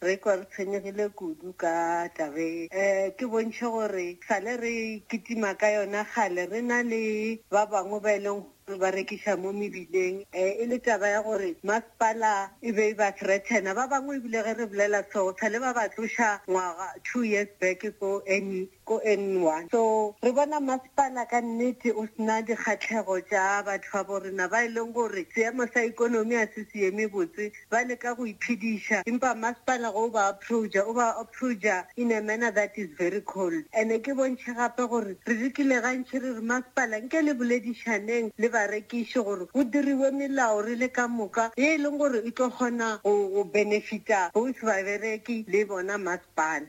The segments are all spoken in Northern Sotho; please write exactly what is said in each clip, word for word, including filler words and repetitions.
Re kwa re tshwenyegile kudu ka tabe. Um ke bontšhe gore sale re kitima ka yona kgale re na le ba bangwe ba e leng gore ba rekiša mo mebileng. Um e le taba ya gore masepala e be e ba threatena. Ba bangwe ebile ge re bolela so sale ba ba tloša ngwaga two years back ko N ko N one. So re bona masepala ka nnete o sena dikgatlhego tša batho ba bo rena ba e leng gore seemo sa ikonomi a se se eme botse ba leka go iphediša empa masepala go ba approacha o ba approacha in a manner that is very cold and ke bontšhe gape gore re lekile gantši re re masepala nke le boledišaneng le barekiši gore go diriwe melao re le ka moka ye e leng gore e tlo kgona go benefita both babereki le bona masepala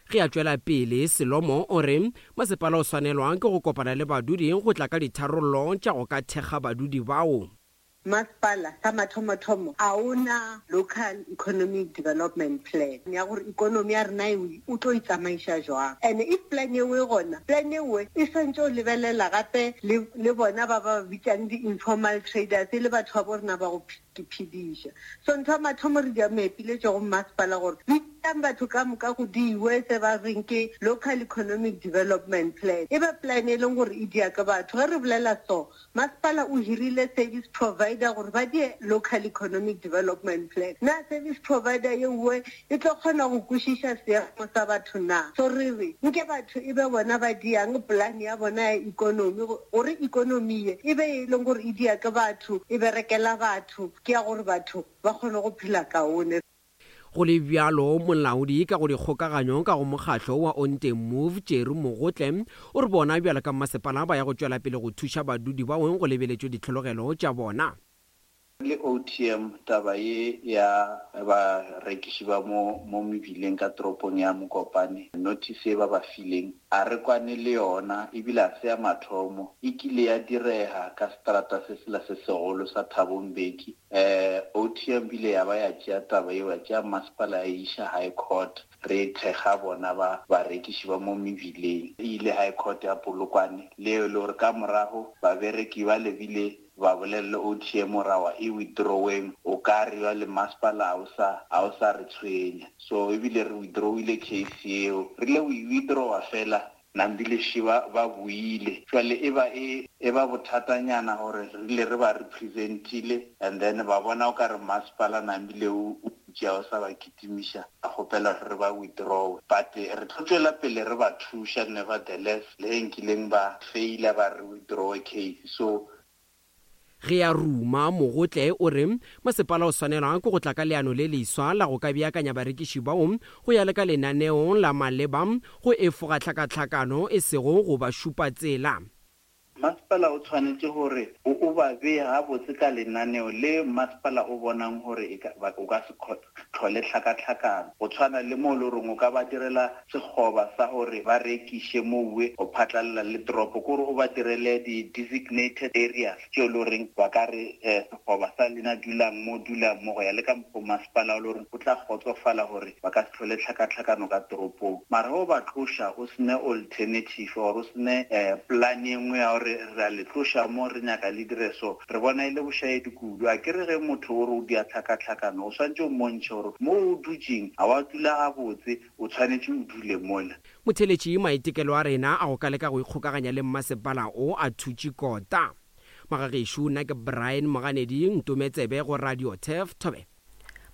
Ge a tšwela pele Selomo o re masepala o swanelwa ke go kopana le badudi go tla ka ditharollo tša go ka thekga badudi bao. Masepala sa mathomothomo a ona local economic development plan ya gore ikonomi ya rena e o tlo itsamaiša jwang and if plan eo e gona plan eo e swantse o lebelela gape le le bona ba ba bitsang di-informal traders e le batho ba bo rena ba go phediša so ntho ya mathomo re di meepiletše go masepala gore bitsang batho ka moka go diwe se ba reng ke local economic development plan e be plan e leng gore e dia ke batho ge re bolela so masepala o hirile service provider gore ba die local economic development plan na service provider ye nngwe e tlo kgona go kwešiša seemo sa batho na so re re nke batho e be bona ba diang plan ya bona ya economy gore economy ye e be e leng gore e dia ke batho e berekela batho ke ya gore batho ba kgone go phela kaone Go le bjalo molaodi ka go dikgokaganyo ka go mokgatlo wa Onte Move Jerry Mogotle o re bona bjalo ka masepala ba ya go tšwela pele go thuša badudi bao go lebeletšwe ditlhologelo tša bona. Le OTM taba ye ya barekiši ba mo mo mebileng ka toropong ya Mokopane notice e ba ba fileng a re kwane le yona ebile a se ya mathomo e kile ya direga ka strata se sela se segolo sa Thabo Mbeki eh OTM bile ya ba ya tšea taba eo ya tšea masepala ya iša high court re thekga bona ba barekiši ba mo mebileng e ile high court ya Polokwane leo le gore ka morago babereki ba lebile ba bolelle OTM gore e withdraweng o ka re le masepala a o sa a o sa re tshwenya so ebile re withdrawile case eo re le o withdrawa fela nambile ba ba buile jwale e ba e e ba bothatanyana gore re ile re ba representile and then ba bona o ka re masepala nambile o tšea o sa ba kitimiša a kgopela re ba withdraw but re tlo tšwela pele re ba thuša nevertheless le ge nkileng ba faila ba re withdraw case so Ge a ruma Mogotle o re masepala o swanelwa ke go tla ka leano le leswa la go ka beakanya barekiši bao go ya le ka lenaneo la maleba go efoga tlhakatlhakano e sego go ba šupa tsela. Masepala o tshwanetse gore o o ba beye gabotse ka lenaneo le masepala o bonang gore e o ka se tlhole tlhakatlhakano go tshwana le mo le goreng o ka ba direla sekgoba sa gore ba rekiše mowe go phatlalela le toropo kore o ba direle di-designated areas tšeo le goreng ba ka re um sekgoba sa lena dulang mo dulang mo go ya le ka mokgwa masepala o le goreng o tla kgotsofala gore ba ka se tlhole tlhakatlhakano ka toropong mara ge o ba tloša o sene alternative or o sene um plan e nngwe ya gore re a le tloša mo re nyaka le dire so re bona e le bošaedi kudu a ke re ge motho o re o dia tlhakatlhakano o swantse o mmontšhe gore mo o dutšeng ga wa dula gabotse o tshwanetse o dule mola Motheletši maitekelo a rena a go ka leka go ikgokaganya le mmasepala o a thutše kota. Magagešo nna ke Brian Moganedi Ntometsebe go Radio Turf Thobe.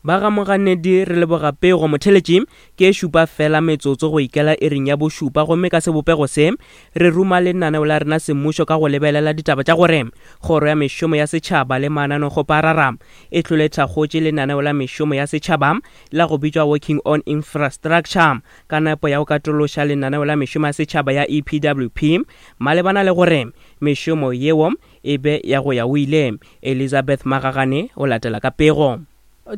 Ba ga Moganedi re leboga pego motheletši ke e šupa fela metsotso go ikela iring ya bošupa gomme ka sebopego se re ruma lenaneo la rena semmušo ka go lebelela ditaba tša gore kgoro ya mešomo ya setšhaba le mananekgoparara e tlole thakgotše lenaneo la mešomo ya setšhaba la go bitšwa working on infrastructure ka nepo ya go katološa lenaneo la mešomo ya setšhaba ya EPWP malebana le gore mešomo yeo e be ya go ya o ile Elizabeth Magagane o latela ka pego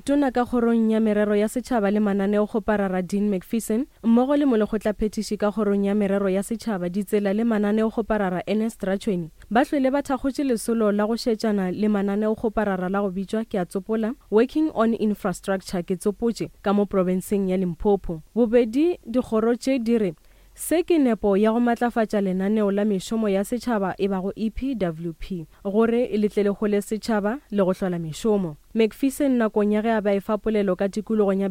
Tona ka kgorong ya merero ya setšhaba le mananeokgoparara Dean Macpherson mmogo le molekgotlaphethiši ka kgorong ya merero ya setšhaba ditsela le mananeokgoparara Ernest Ratšhweni ba hlwele ba thakgotše lesolo la go šetšana le mananeokgoparara la go bitšwa ke a tsopola working on infrastructure ke tsopotše ka mo profenseng ya Limpopo bobedi dikgoro tše di re se ke nepo ya go matlafatša lenaneo la mešomo ya setšhaba e bago EPWP gore le tle le hole setšhaba le go hlola mešomo Macpherson nakong ya ge a ba efa polelo ka tikologong ya